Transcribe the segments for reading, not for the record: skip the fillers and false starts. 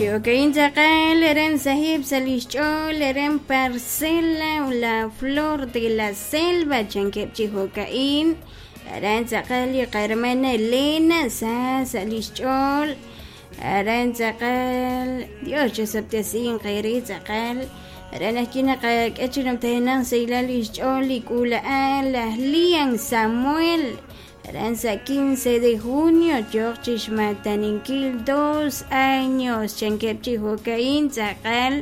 Chi'okain tz'aqal aran sahib' sa' lix ch'ool aran Parcela La Flor de la Selva chankeb' chi jo'ka'in aran tz'aqal li qahermana Elena sa sa' lix ch'ool aran tz'aqal Dios chosob'tesinq eere tz'aqal aran ajwi' naqak'e chi numtajenaq sahilal lix ch'ool li k'uula'al laj Lian Samuel aran sa' 15 de junio yooq chixmaataninkil 2 años chankeb' chi jo'ka'in tz'aqal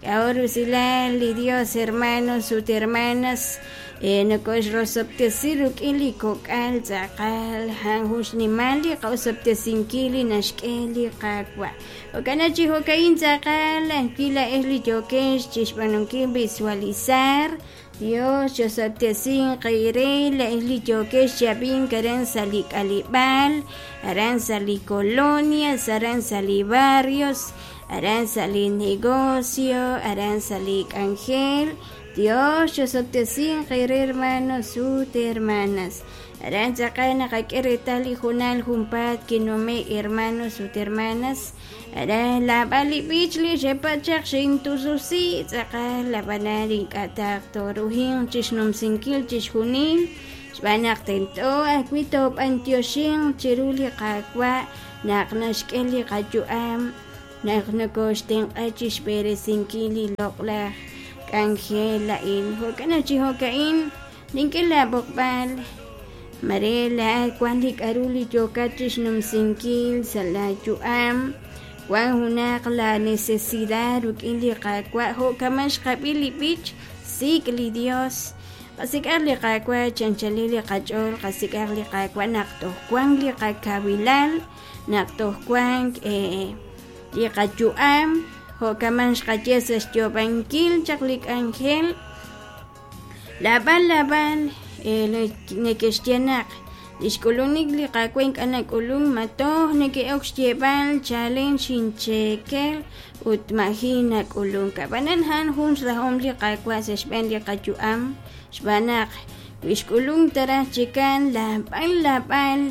k'a'jo' rusilal li Dios hermanos ut hermanas nokoxrosob'tesi rik'in li kok'al tz'aqal a'an jun xnimal li qa'osob'tesinkil li naxk'e li Qaawa'. Jo'kan naq chi jo'ka'in tz'aqal ajwi' laa'ex li yookex chixb'aanunkil visualizar Dios chosob'tesinq eere laa'ex li yookex chi ab'ink aran sa' li k'aleb'aal, aran sa' li colonias, aran sa' li barrios, aran sa' li negocio, aran sa' li k'anjel. Dios chosob'tesinq eere hermanos ut hermanas. Aran tz'aqal naqak'e reetal li hoonal junpaat kinume' hermanos ut hermanas. Aran laab'al li b'ich li xepat chaq xintususi tz'aqal ab'anan ink'a' taq tooruhinq chixnumsinkil chixjunil xb'aan naq tento ajwi' toob'antioxinq chiru li Qaawa' naq naxk'e li qayu'am naq nokoxtenq'a chixb'eresinkil li loq'laj k'anjel a'in. Jo'kan naq chi jo'ka'in nink'e laab'oqb'al mare laa'at wan li k'a'ru li yookat chixnumsinkil sa' laa yu'am, wan junaq laa necesidad rik'in li Qaawa' jo' kama' xqab'i li b'ich Sik' li Dios. Qasik'aq li Qaawa' chi anchalil li qach'ool, qasik'aq li Qaawa' naq toj wank li qakawilal, naq toj wank li qayu'am, jo' kama' xqaye sa' xyoob'ankil chaq li k'anjel. Laab'al laab'al neke'xye naq li xk'ulunik li Qaawa' ink'a' nak'ulunk ma toj neke'ok xyeeb'al chalen xincheekel ut maji' nak'ulunk. Ab'anan a'an jun xrahom li Qaawa' sa' xb'een li qayu'am xb'aan naq wi xk'ulunk ta raj chikan laab'al laab'al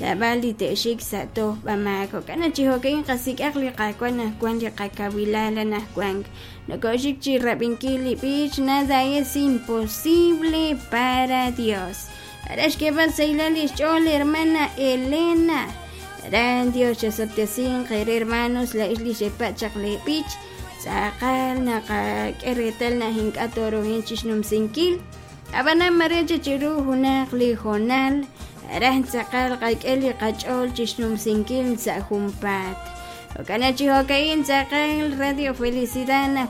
Laab'al li te'xik sa' tojb'amaak. Jo'kan naq chi jo'ka'in qasik'aq li Qaawa' anaqwan li qakawilal anaqwan. Nokooxik chi rab'inkil li b'ich Nada es imposible para Dios. Aran xk'eeb'al sahilal li xch'ool hermana Elena. Aran Dios chasob'tesinq eere hermanos laa'ex li xepa' chaq lee b'ich. Tz'aqal naqak'e reetal naq ink'a' tooruhin chixnumsinkil. Ab'anan mare chi chiru junaq li hoonal raj tz'aqal qak'e li qach'ool chi xnumsinkil sa' junpaat. Jo'kan chi jo'ka'in tz'aqal Radio Felicidad.